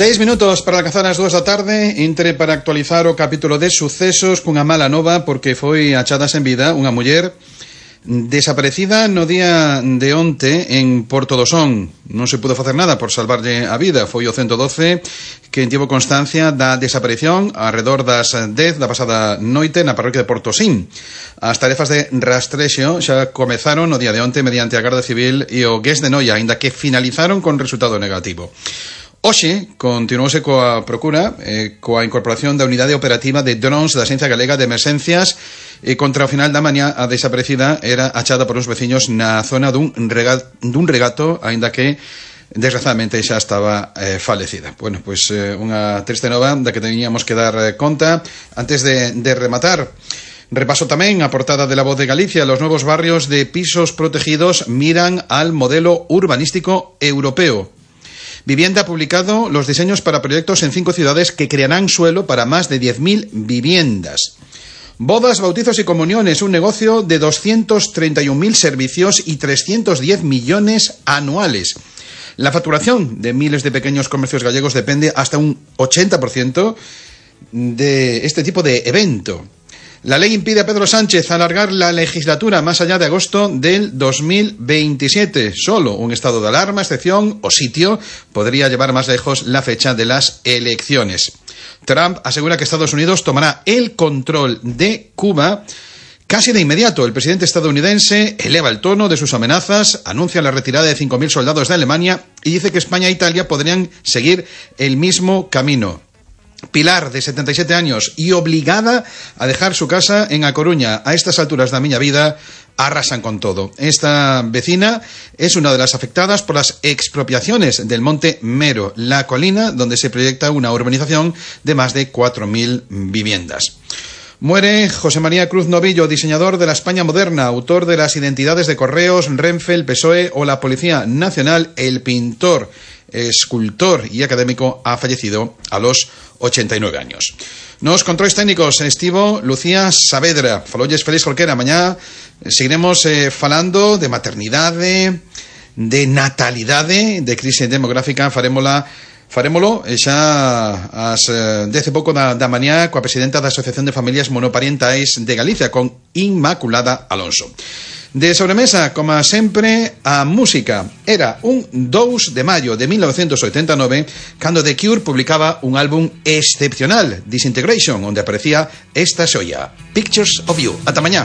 6 minutos para alcanzar as 2 da tarde. Entre para actualizar o capítulo de sucesos cunha mala nova, porque foi achada sen vida unha muller desaparecida no día de onte en Porto do Son. Non se pudo facer nada por salvarlle a vida. Foi o 112 que tivo constancia da desaparición arredor das 10 da pasada noite na parroquia de Portosín. As tarefas de rastrexo xa comezaron no día de onte mediante a Garda Civil e o GES de Noia, aínda que finalizaron con resultado negativo. Hoxe continuouse coa procura coa incorporación da unidade operativa de drones da Axencia Galega de Emerxencias e contra o final da mañá a desaparecida era achada por uns veciños na zona dun regato, aínda que desgraciadamente xa estaba falecida. Bueno, pois unha triste nova da que teníamos que dar conta antes de rematar. Repaso tamén a portada de La Voz de Galicia. Los nuevos barrios de pisos protegidos miran al modelo urbanístico europeo. Vivienda ha publicado los diseños para proyectos en 5 ciudades que crearán suelo para más de 10.000 viviendas. Bodas, bautizos y comuniones, un negocio de 231.000 servicios y 310 millones anuales. La facturación de miles de pequeños comercios gallegos depende hasta un 80% de este tipo de evento. La ley impide a Pedro Sánchez alargar la legislatura más allá de agosto del 2027. Solo un estado de alarma, excepción o sitio podría llevar más lejos la fecha de las elecciones. Trump asegura que Estados Unidos tomará el control de Cuba casi de inmediato. El presidente estadounidense eleva el tono de sus amenazas, anuncia la retirada de 5.000 soldados de Alemania y dice que España e Italia podrían seguir el mismo camino. Pilar, de 77 años y obligada a dejar su casa en A Coruña. A estas alturas da miña vida arrasan con todo. Esta vecina es una de las afectadas por las expropiaciones del Monte Mero, la colina donde se proyecta una urbanización de más de 4.000 viviendas. Muere José María Cruz Novillo, diseñador de la España moderna, autor de las identidades de Correos, Renfe, el PSOE o la Policía Nacional. El pintor, escultor y académico ha fallecido a los 89 años. Nos controles técnicos estivo Lucía Saavedra. Falolles Félix Jorquera. Mañá seguiremos falando de maternidade, de natalidade, de crise demográfica. Farémolo xa ás 10 e pouco da mañá coa presidenta da Asociación de Familias Monoparentais de Galicia, con Inmaculada Alonso. De sobremesa, como sempre, a música. Era un 2 de maio de 1989 cando The Cure publicaba un álbum excepcional, Disintegration, onde aparecía esta xoia, Pictures of You. Ata mañá.